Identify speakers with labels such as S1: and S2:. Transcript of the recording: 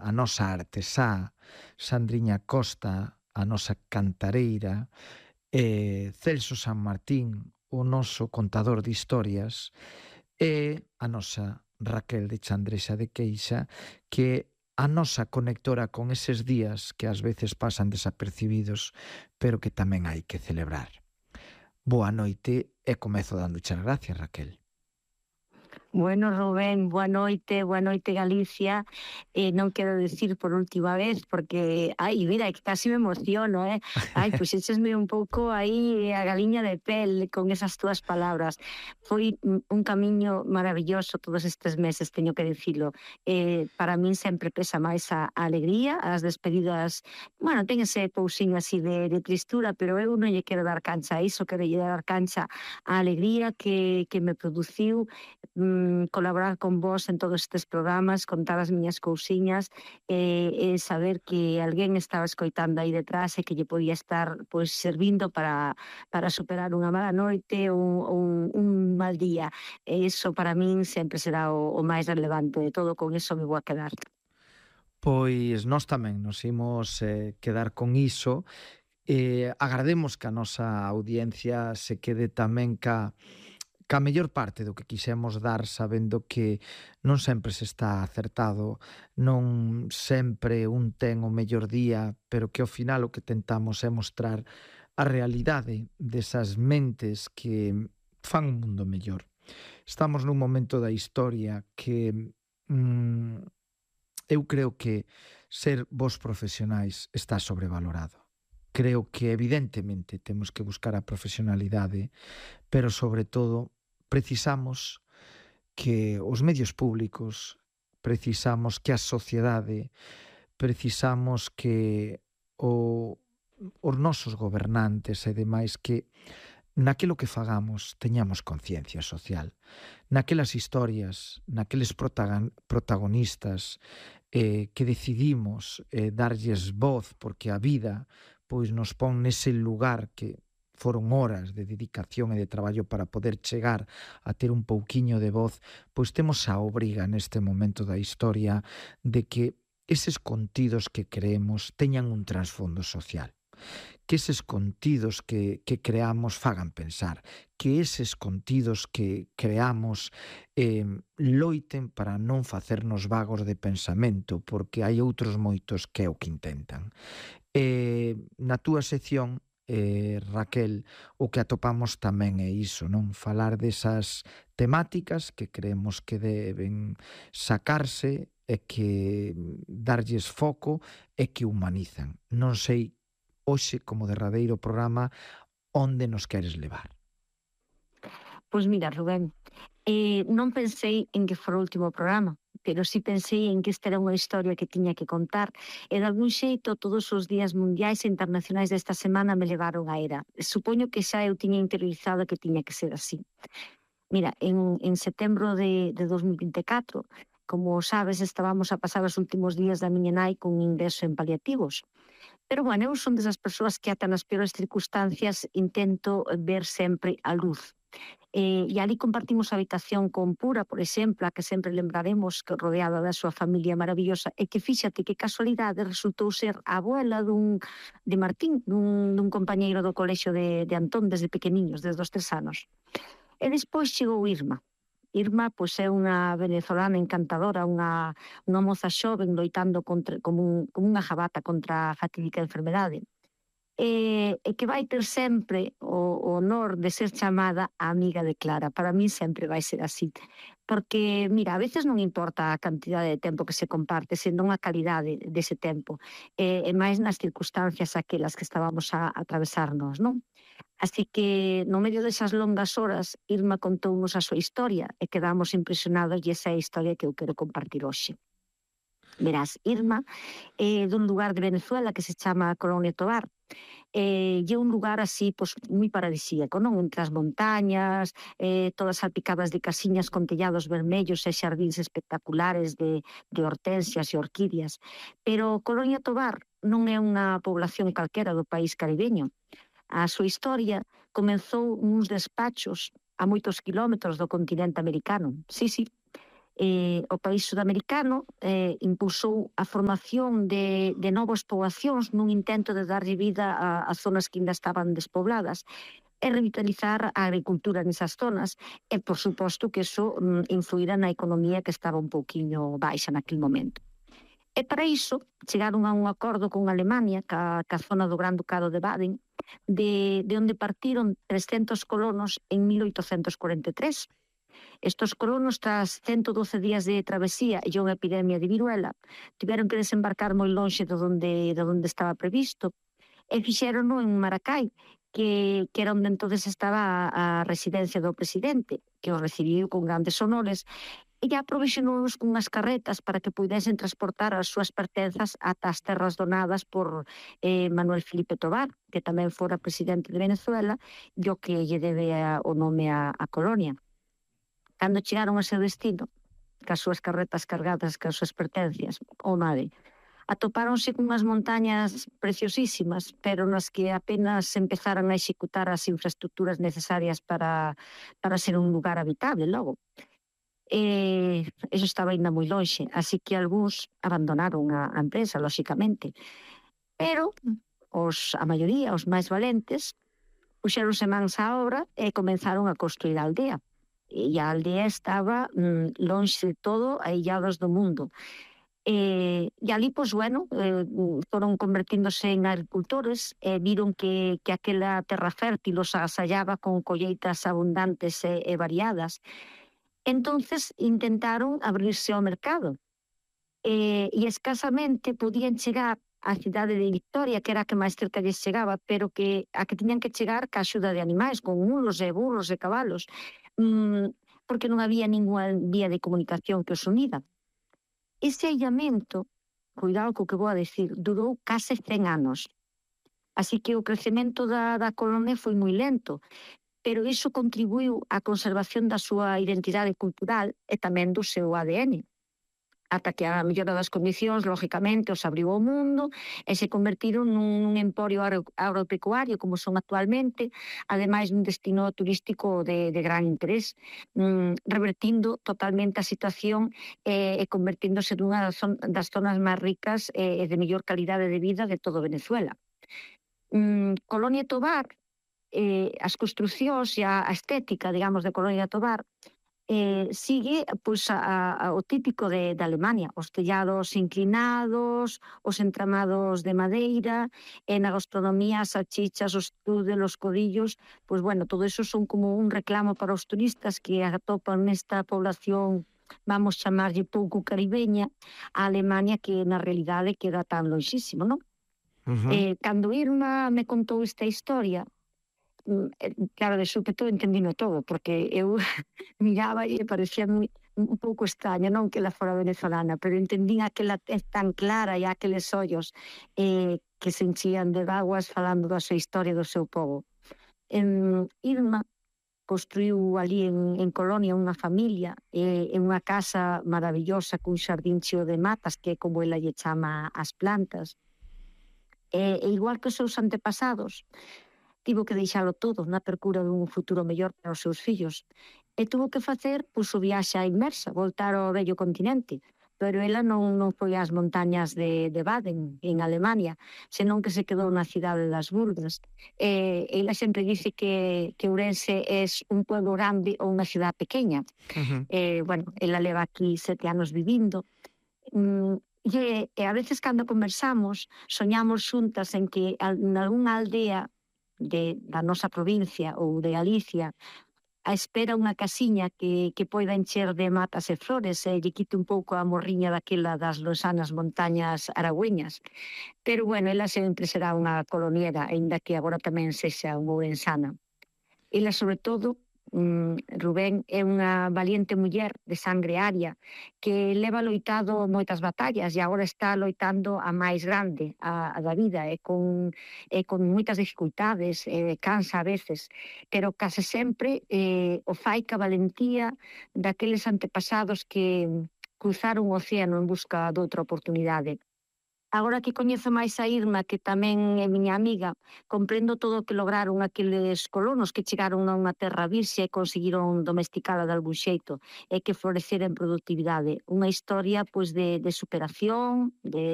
S1: a nosa artesá, Sandriña Costa, a nosa cantareira, Celso San Martín, o noso contador de historias, e a nosa Raquel de Chandrexa de Queixa, que a nosa conectora con eses días que ás veces pasan desapercibidos, pero que tamén hai que celebrar. Boa noite e comezo dándoche as gracias, Raquel.
S2: Bueno, Rubén, boa noite Galicia. Non quero decir por última vez, porque, mira, que casi me emociono, puxéchesme un pouco aí a galiña de pel con esas túas palabras. Foi un camiño maravilloso todos estes meses, teño que dicilo. Para min sempre pesa máis a alegría, as despedidas, bueno, ten ese pousiño así de tristura, pero eu non lle quero dar cancha a iso, quero lle dar cancha a alegría que me produciu colaborar con vos en todos estes programas, contar as miñas cousiñas e saber que alguén estaba escoitando aí detrás e que lle podía estar pois servindo para superar unha mala noite ou un mal día. E iso para min sempre será o máis relevante de todo, con iso me vou a quedar.
S1: Pois nós tamén nos imos quedar con iso. Agardemos que a nosa audiencia se quede tamén ca mellor parte do que quixemos dar, sabendo que non sempre se está acertado, non sempre un ten o mellor día, pero que ao final o que tentamos é mostrar a realidade desas mentes que fan un mundo mellor. Estamos nun momento da historia que eu creo que ser bons profesionais está sobrevalorado. Creo que evidentemente temos que buscar a profesionalidade, pero sobre todo precisamos que os medios públicos, precisamos que a sociedade, precisamos que os nosos gobernantes e demais que naquilo que fagamos teñamos conciencia social, naquelas historias, naqueles protagonistas que decidimos darlles voz porque a vida pois nos pon nese lugar que foron horas de dedicación e de traballo para poder chegar a ter un pouquiño de voz, pois temos a obriga neste momento da historia de que eses contidos que creemos teñan un trasfondo social, que eses contidos que creamos fagan pensar, que eses contidos que creamos loiten para non facernos vagos de pensamento, porque hai outros moitos que é o que intentan. Na túa sección, Raquel, o que atopamos tamén é iso, non? Falar desas temáticas que creemos que deben sacarse e que darlles foco e que humanizan. Non sei hoxe, como derradeiro programa, onde nos queres levar?
S2: Pois mira, Rubén, non pensei en que fora o último programa, pero sí pensei en que esta era unha historia que tiña que contar e de algún xeito todos os días mundiais e internacionais desta semana me levaron a era. Supoño que xa eu tiña interiorizado que tiña que ser así. Mira, en setembro de 2024, como sabes, estábamos a pasar os últimos días da miña nai con ingreso en paliativos. Pero, bueno, eu son desas persoas que ata nas peores circunstancias intento ver sempre a luz. E ali compartimos a habitación con Pura, por exemplo, a que sempre lembraremos, que rodeada da súa familia maravillosa, e que fíxate que casualidade resultou ser a abuela de Martín, dun compañeiro do colexio de Antón desde pequeniños, desde os 3 anos. E despois chegou Irma. Irma, pois, é unha venezolana encantadora, unha moza xoven loitando como unha jabata contra a fatídica enfermedade. E que vai ter sempre o honor de ser chamada a amiga de Clara. Para mí sempre vai ser así. Porque, mira, a veces non importa a cantidade de tempo que se comparte, senón a calidade dese tempo. E máis nas circunstancias aquelas que estábamos a atravesarnos, non? Así que, no medio desas longas horas, Irma contounos a súa historia e quedamos impresionados e esa é a historia que eu quero compartir hoxe. Verás, Irma é dun lugar de Venezuela que se chama Colonia Tovar. E é un lugar así, pois, moi paradisíaco, non? Entre as montañas, todas salpicadas de casiñas con tellados vermellos e xardíns espectaculares de hortensias e orquídeas. Pero Colonia Tovar non é unha población calquera do país caribeño. A súa historia comezou nuns despachos a moitos kilómetros do continente americano. Sí, O país sudamericano impulsou a formación de novas poboacións nun intento de darlle vida a zonas que ainda estaban despobladas e revitalizar a agricultura nesas zonas e, por suposto, que iso influíra na economía que estaba un pouquiño baixa naquele momento. E para iso chegaron a un acordo con Alemania, ca zona do Gran Ducado de Baden, de onde partiron 300 colonos en 1843. Estos colonos, tras 112 días de travesía e unha epidemia de viruela, tiveron que desembarcar moi lonxe de onde estaba previsto e fixérono en Maracay, que era onde entonces estaba a residencia do presidente, que o recibiu con grandes honores e aprovisionounos cunhas carretas para que puidesen transportar as súas pertenzas ata as terras donadas por Manuel Felipe Tobar, que tamén fora presidente de Venezuela e o que lle debe o nome a colonia. Cando chegaron a seu destino, cas súas carretas cargadas cas súas pertencias, ou nade, atopáronse cunhas montañas preciosísimas, pero nas que apenas empezaran a executar as infraestructuras necesarias para ser un lugar habitable logo. Eso estaba ainda moi lonxe, así que algúns abandonaron a empresa, lóxicamente. Pero a maioría, os máis valentes, puxeronse mans á obra e comenzaron a construir a aldea. E a aldea estaba lonxe de todo, aillados do mundo. E ali, pois, bueno, foron convertíndose en agricultores e viron que aquela terra fértil os asallaba con colleitas abundantes e variadas. Entonces intentaron abrirse ao mercado e escasamente podían chegar á cidade de Victoria, que era a que máis cerca lles chegaba, pero que a que tiñan que chegar ca axuda de animais, con mulos e burros e cabalos, porque non había ninguna vía de comunicación que os unida. Ese aillamento, cuidado co que vou a decir, durou case 100 anos. Así que o crecemento da colonia foi moi lento, pero iso contribuiu á conservación da súa identidade cultural e tamén do seu ADN. Ata que a mellora das condicións, lógicamente, os abriu ao mundo e se convertiron nun emporio agropecuario como son actualmente, ademais dun destino turístico de gran interés, revertindo totalmente a situación e convertíndose nunha das zonas máis ricas e de mellor calidade de vida de todo Venezuela. Colonia Tovar, as construcións e a estética, digamos, de Colonia Tovar sigue pois o típico de Alemania, os tellados inclinados, os entramados de madeira, e na gastronomía as salchichas, os strudel, os codillos, pois bueno, todo eso son como un reclamo para os turistas que atopan nesta población, vamos chamarlle pouco caribeña, a Alemania, que na realidade queda tan lonxísimo, non? Cando Irma me contou esta historia, claro, de súpeto entendino todo, porque eu miraba e parecía un pouco extraño, non que ela fora venezolana, pero entendín aquela tez tan clara e aqueles ollos que se enchían de vaguas falando da súa historia do seu povo. Irma construiu ali en Colonia unha familia en unha casa maravillosa cun xardín cheo de matas, que é como ela lle chama as plantas. E igual que os seus antepasados, tivo que deixalo todo na percura dun futuro mellor para os seus fillos. E tuvo que facer o viaxe á inmersa, voltar ao vello continente. Pero ela non foi ás montañas de Baden, en Alemania, senón que se quedou na cidade das Burgas. Ela sempre dice que Ourense é un pueblo grande ou unha cidade pequena. Bueno, ela leva aquí 7 anos vivindo. E a veces cando conversamos, soñamos xuntas en que en algunha aldea da nosa provincia ou de Galicia a espera unha casiña que poida encher de matas e flores e lle quite un pouco a morriña daquela das losanas montañas aragüeñas. Pero bueno, ela sempre será unha coloniera, aínda que agora tamén sexa unha ourensana. Ela, sobre todo, Rubén, é unha valiente muller de sangre aria que leva loitado moitas batallas e agora está loitando a máis grande, a da vida, e con moitas dificultades, cansa a veces, pero case sempre o fai ca valentía daqueles antepasados que cruzaron o océano en busca doutra oportunidade. Agora que coñezo máis a Irma, que tamén é miña amiga, comprendo todo o que lograron aqueles colonos que chegaron a unha terra virxe e conseguiron domesticala de algún xeito e que florecera en productividade. Unha historia pois de superación, de